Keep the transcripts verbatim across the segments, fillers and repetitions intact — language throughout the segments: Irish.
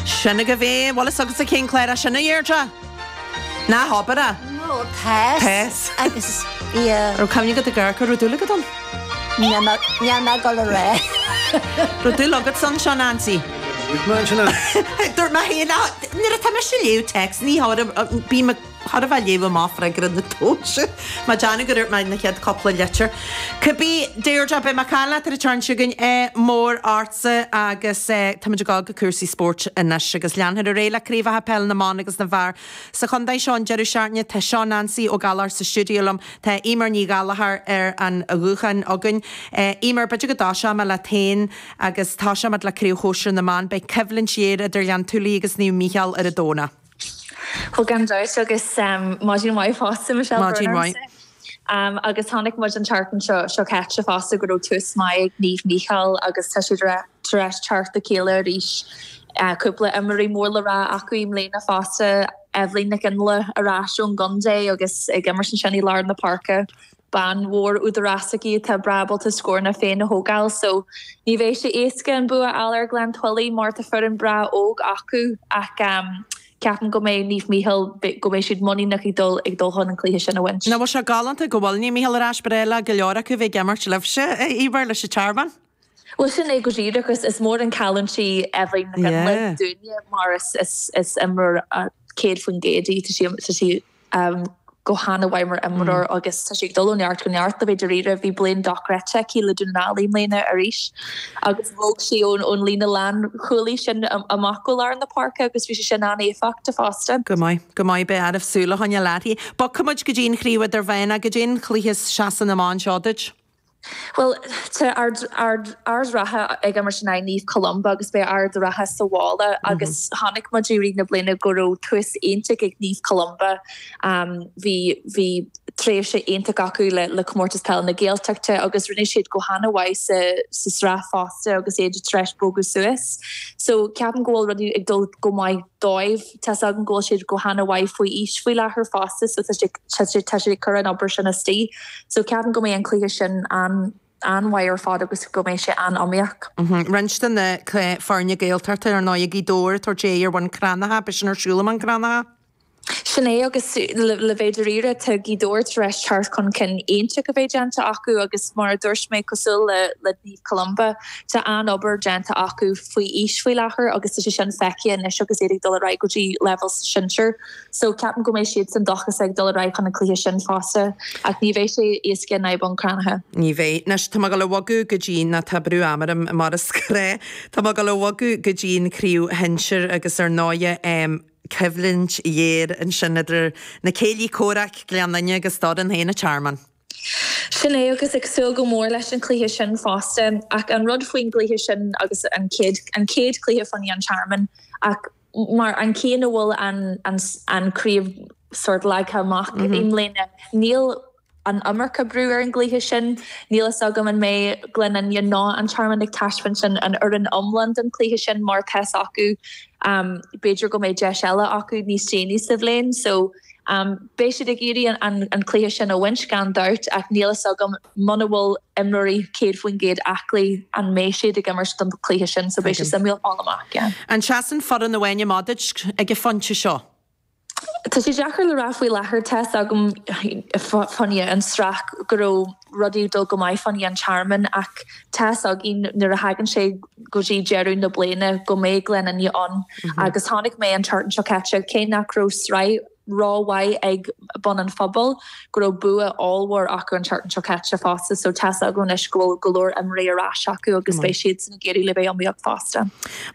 Sin agaibh é, bhfuil fhios agatsa cén clár é sin, a Dheirdre? Ná habair é. No, tá. Tá. Agus yeah. Raibh cuimhne agat ag amharc air, raibh dúil agat ann? Níl mé níl mé ag dul a rá. Raibh dúil agat ann seo, Nancy? Dúirt mé ansin é. Dúirt mé féin, nuair atá mise ag léamh téacs, ní bím chóir a bheith ag léamh amach freagra na tomhaise. Má déanamh go dúirt mé na chéad cúpla litir. Cibé, Deirdre, beidh mé ag caint leat ar an tseachtain seo chugainn, ádh mór ortsa agus táimid ag dul go cúrsaí spóirt anois agus leanfar ar aghaidh le craobhacha peile na mban agus na bhfear sa chontae seo an deireadh seachtaine. Tá seo Nancy Ó Gallchóir sa stiúideo liom, tá Eimear Ní Ghallchóir ar an ghuthán againn. Eimear, b'fhéidir go dtoiseoidh mé leat féin agus toiseoimid le craobh shóisir na mban. Beidh coimhlint ghéar idir Gleann tSúilí agus Naomh Mícheál ar an Domhnach. Bhuel gan dabht agus maidin mhaith fosta Michelle Maidin mhaith. Um, agus chonaic muid an tseachtain seo seo caite fosta go raibh tús maith ag Naomh Mícheál agus tá siad tar éis teacht le chéile arís. Uh, cúpla imreoirí mór le rá acu i mbliana fosta Evelyn Nic Fhionnghaile ar ais ón gcontae agus ag imirt ansin i lár na páirce. Bean mhór údarásach í atá breá ábalta scóranna féin a thógáil, so ní bheidh sé éasca an bua a fháil ar Ghleann tSúilí mar tá foireann breá óg acu ach um, ceapaim go mbeidh Naomh Mícheál go mbeidh siad muiníneach ag dul ag dul chun an cluiche sin a bhaint. Nach bhfuil sé galánta go bhfuil Naomh Mícheál ar ais ba le go leor acu bheith ag imirt libhse Eimear leis an Tearmann. Well sin é go díreach is is mór an cailliúint í Evelyn Nic Fhionnghaile dúinne mar is is is imreoir céad faoin gcéad í tá sí tá sí um, go han-mhaith mar imreoir agus tá sí ag dul ó neart go neart le bheith dáiríre bhí bliain dochreidte aici le Dún na nGall i mbliana arís agus bhog sí ón ón líne lánchúlaí sin amach go lár na páirce agus bhí sé sin an-éifeachtach fosta. Go maith, go maith beidh áirimh súil a choinneáil uirthi. Bogfaimid go dtí an chraobh idirmheánach go dtí an cluiche seasa na mban seo duit. Well tá Ard Ard Ard Ratha ag imirt in aghaidh Naomh Columba agus beidh Ard Ratha sa bhaile agus chonaic muid i rith na bliana go raibh tús iontach ag Naomh Columba um, bhí bhí tréimhse iontach acu le, le comórtas peile na Gaeltachta agus rinne siad go han-mhaith sa, sa sraith fosta agus iad tar éis bogadh suas. So ceapaim go bhfuil rudaí ag dul go maith dóibh Tá agam go bhfuil siad go han-mhaith faoi aois faoi láthair fosta so tá sé tá sé cur an obair sin istigh. So ceapaim go mbeidh an cluiche sin an an-mhaith ar fad agus go mbeidh sé an-iomaíoch. Roinnt de na foirne Gaeltachta ar ndóigh Gaoth Dobhair tabhairt aghaidh ar Bhun Cranncha, beidh sin ar siúl i mBun Cranncha. Sin é agus le le bheith dáiríre tá Gaoth Dobhair tar éis teacht chun cinn iontach a bheith déanta acu agus mar a dúirt mé cosúil le le Naomh Columba tá an-obair déanta acu faoi aois faoi láthair agus tá sé sin feicthe anois agus iad ag dul ar aghaidh go dtí leibhéal sinsir. So ceapaim go mbeidh siad san dóchas ag dul ar aghaidh chun an cluiche sin fosta ach ní bheidh sé éasca in aghaidh Bhun Cranncha. Ní bheidh. Anois tá mé ag dul a bhogadh go dtí ná tá brú ama orm mar is gnách. Tá mé ag dul a bhogadh go dtí an chraobh shinsir agus ar ndóigh um, coimhlint ghéar ansin idir na céilí comhraic Gleann Fhinne agus Doireann féin an Tearmann. Sin é agus ag súil go mór leis an cluiche sin fosta ach an rud faoin gcluiche sin agus an chéad an chéad chluiche faoi an Tearmann ach mar an cén a bhfuil an an an craobh sort leagtha amach mm -hmm. i mbliana níl an iomarca brú ar an gcluiche sin, níl a fhios agam an mbeidh Gleann Fhinne ná an Tearmann ag taispeáint sin an fhoireann iomlán den chluiche sin mar tá acu um, b'fhéidir go mbeidh deis eile acu níos déanaí sa bhliain, so um, beidh siad ag iarraidh an, an, an cluiche sin a bhaint gan dabht ach níl a fhios agam muna bhfuil imreoirí céad faoin gcéad aclaí an mbeidh siad ag imirt don chluiche sin, so beidh sé suimiúil fáil amach. Yeah. An seasann foireann amháin amach duit ag an phointe seo. Tá sé deacair le rá faoi láthair tá agam fanna an sraith go raibh rudaí dul go maith fanna an Tearmann ach tá againn nuair a thagann sé go dtí deireadh na bliana go mbeidh Gleann Fhinne ann agus chonaic mé an tseachtain seo caite cé nach raibh sraith rómhaith ag Bun an Phobail go raibh bua ollmhór acu an tseachtain seo caite fosta, so tá agam anois go bhfuil go leor imreoirí ar ais acu agus beidh siad san ag iarraidh le bheith iomaíoch fosta.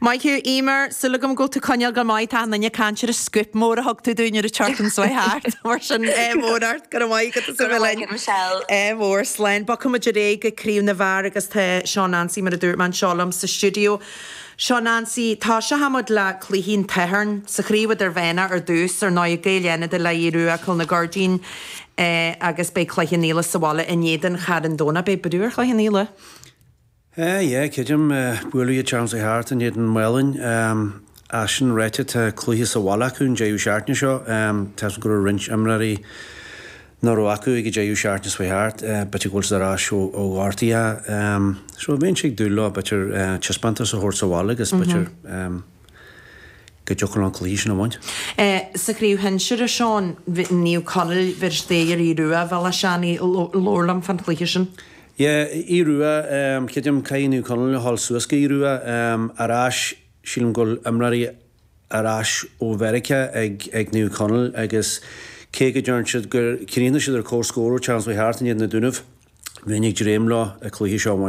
Maith thú Eimear súil agam go bhfuil tú coinneáil go maith tá an duine caint ar an scoop mór a thug tú dúinn ar an tseachtain seo thart mar sin é mór ort go maith go Go raibh maith agat, Michelle. É mhór slán Bogfaimid ar aghaidh go craobh na bhfear agus tá Seán Nancy mar a dúirt mé anseo liom sa stiúideo. Seán Nancy tá sé le cluichí an tSathairn sa chraobh idirmheánach ar dtús ar ndóigh Gaeil Fhánada le Aodh Rua Cill na Gairdín eh, agus beidh Cloich Cheann Fhaola sa bhaile in éadan Charn Domhnach beidh brú ar Chloich Cheann Fhaola. Eh, yeah, creidim bualadh Charles Hart in éadan Mhálainn a sin réite tá cluiche sa bhaile acu an deireadh seachtaine seo tá go raibh roinnt imreoirí nach raibh acu ag an deireadh seachtaine seo thart b'fhéidir go bhfuil siad ar ais ó ó ghortuithe so bhíonn sé ag dúil leo b'fhéidir taispeántas a thabhairt sa bhaile agus b'fhéidir go dtiocfadh leo an cluiche sin a bhaint. Sa chraobh shinsir, a Seán, Naomh Conaill versus Aodh Rua, Bhéal Átha Seanaidh, labhair liom fán chluiche sin. Yeah, Aodh Rua, creidim caithfidh Naomh Conaill a dhul suas go Aodh Rua ar ais, sílim go bhfuil imreoirí ar ais ó Mheiriceá ag ag Naomh Conaill agus cé go dtearn siad gur chríochnaigh siad ar comhscór ó Charles Hart in éadan na Dúnaibh, bheinn ag dréim leo an cluiche seo a bhaint.